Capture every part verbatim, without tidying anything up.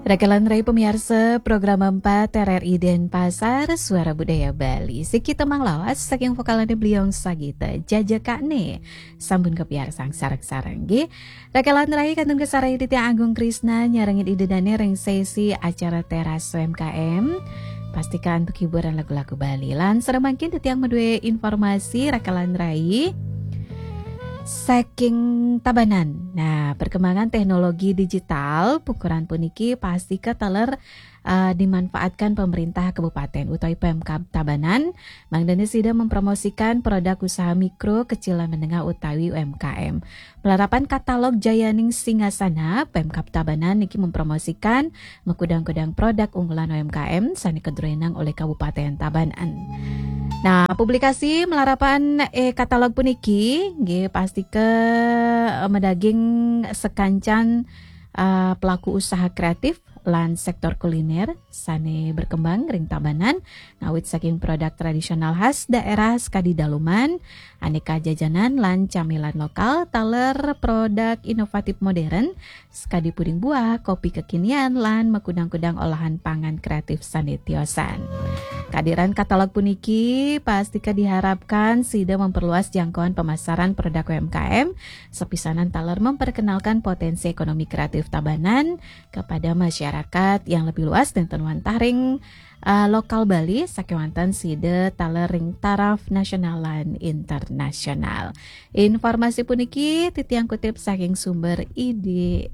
Rakelan rai pamiarsa program empat R R I Denpasar, Suara Budaya Bali. Siki tembang lawas saking vokalane Bliong Sagita, Jaja Kane. Sambun kepiarsang sareng-sareng nggih. Rakelan rai kantun kasarengin titiang Agung Krisna nyarengin ida dane ring sesi acara Teras U M K M. Pastikan untuk hiburan lagu-lagu Bali. Lan sareng mangkin titiang madue informasi rakelan rai saking Tabanan. Nah, perkembangan teknologi digital pukuran puniki pastika taler, eh, dimanfaatkan pemerintah kabupaten utawi Pemkab Tabanan, mangdane sida mempromosikan produk usaha mikro, kecil lan menengah utawi U M K M. Malarapan katalog Jayaning Singasana, Pemkab Tabanan niki mempromosikan makudang-kudang produk unggulan U M K M sane kadruenang olih Kabupaten Tabanan. Nah, publikasi malarapan, eh, katalog puniki nggih pastika, eh, madaging sakancan, eh, pelaku usaha kreatif lan sektor kuliner sane berkembang ring Tabanan, ngawit saking produk tradisional khas daerah sakadi daluman, aneka jajanan lan camilan lokal, taler produk inovatif modern sakadi puding buah, kopi kekinian, lan makudang-kudang olahan pangan kreatif sane tiosan. Kadiran katalog puniki pastika diharapkan sida memperluas jangkauan pemasaran produk U M K M, sapisanan taler memperkenalkan potensi ekonomi kreatif Tabanan kepada masyarakat yang lebih luas dan ten wantah ring, uh, lokal Bali, sakewanten sida taler ring taraf nasional lan internasional. Informasi puniki titiang kutip saking sumber I D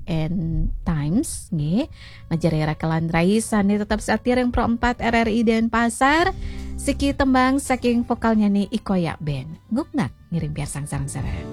N Times, nggih. Majeng ring rakelan rai sane tetep setia ring Pro empat R R I Denpasar. Siki tembang saking vokalnyane Ikoyak Band. Nguknak ngiring piarsang sareng-sareng.